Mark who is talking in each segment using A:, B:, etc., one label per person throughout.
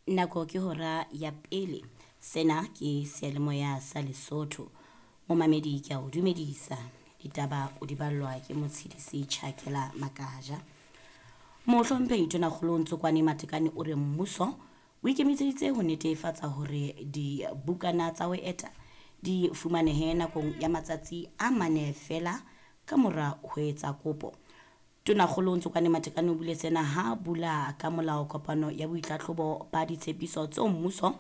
A: Nako ke hora ya pele. Sena ke seyalemoya sa Lesotho. Momamedi ke a o dumedisa. Ditaba o di ballwa ke Motshidisi Tjhakela Makaja. Mohlomphehi Tonakgolo Ntsokwane Matekane o re mmuso o ikemiseditse ho netefatsa hore dibukana tsa ho eta di fumanehe nakong ya matsatsi a mane feela ka mora ho etsa kopo. Tonakgolo Ntsokwane Matekane o buile sena ha bula ka molao kopano ya boitlhatlhobo ba ditshepiso tseo mmuso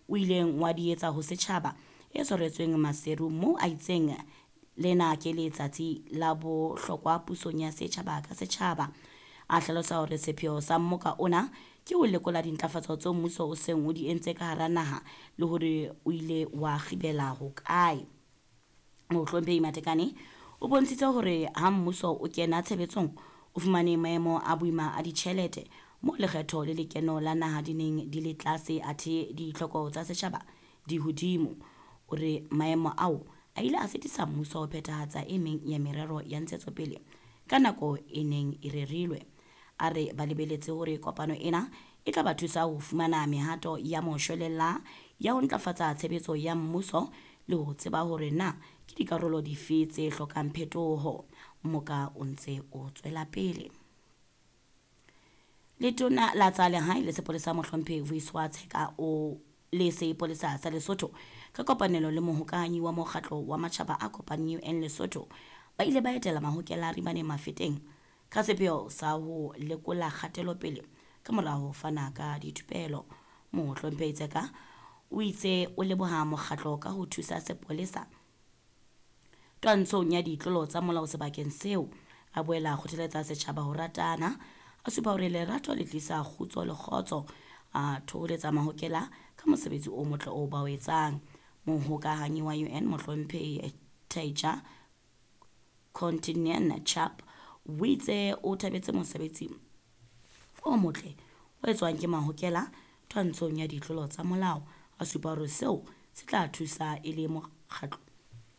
A: o ileng wa di etsa ho setjhaba e tshwaretsweng Maseru moo a itseng lena ke letsatsi la bohlokwa pusong ya setjhaba ka setjhaba. A hlalosa hore sepheo sa mmoka ona ke ho lekola dintlafatso tseo mmuso o seng o di entse ka hara naha le hore o ile wa kgibela hokae. Mohlomphehi Matekane o bontshitse hore ha mmuso o kena tshebetsong o fumane maemo a boima a ditjhelete moo lekgetho le lekeno la naha di neng di le tlase athe ditlhoko tsa setjhaba di hodimo. O re maemo ao a ile a sitisa mmuso ho phethahatsa e meng ya merero ya ntshetsopele ka nako e neng e rerilwe. A re ba lebeletse hore kopano ena e tla ba thusa ho fumana mehato ya moshwelella ya ho ntlafatsa tshebetso ya mmuso le ho tseba hore na ke dikarolo dife tse hlokang phetoho. Mmoka o ntse o tswela pele. Letona la tsa lehae le sepolesa mohlomphehi Vuyiswa Tsheka o le sepolesa sa Lesotho ka kopanelo le mohokahanyi wa mokgatlo wa matjhaba a kopaneng UN Lesotho ba ile ba etela mahokela a Ribaneng Mafeteng ka sepheo sa ho lekola kgatelopele ka mora ho fana ka dithupelo. Mohlomphehi Tseka o itse o leboha mokgatlo ka ho thusa sepolesa twantshong ya ditlolo tsa molao sebakeng seo. A boela a kgothaletsa setjhaba ho ratana, a supa hore lerato le tlisa kgutso le kgotso, a thoholetsa mahokela ka mosebetsi o motle oo ba o etsang. Mohokahanyi wa UN mohlomphehi Taija Kontinen Chap o itse o thabetse mosebetsi o motle o etswang ke mahokela twantshong ya ditlolo tsa molao. A supa hore seo se tla thusa e le mokgatlo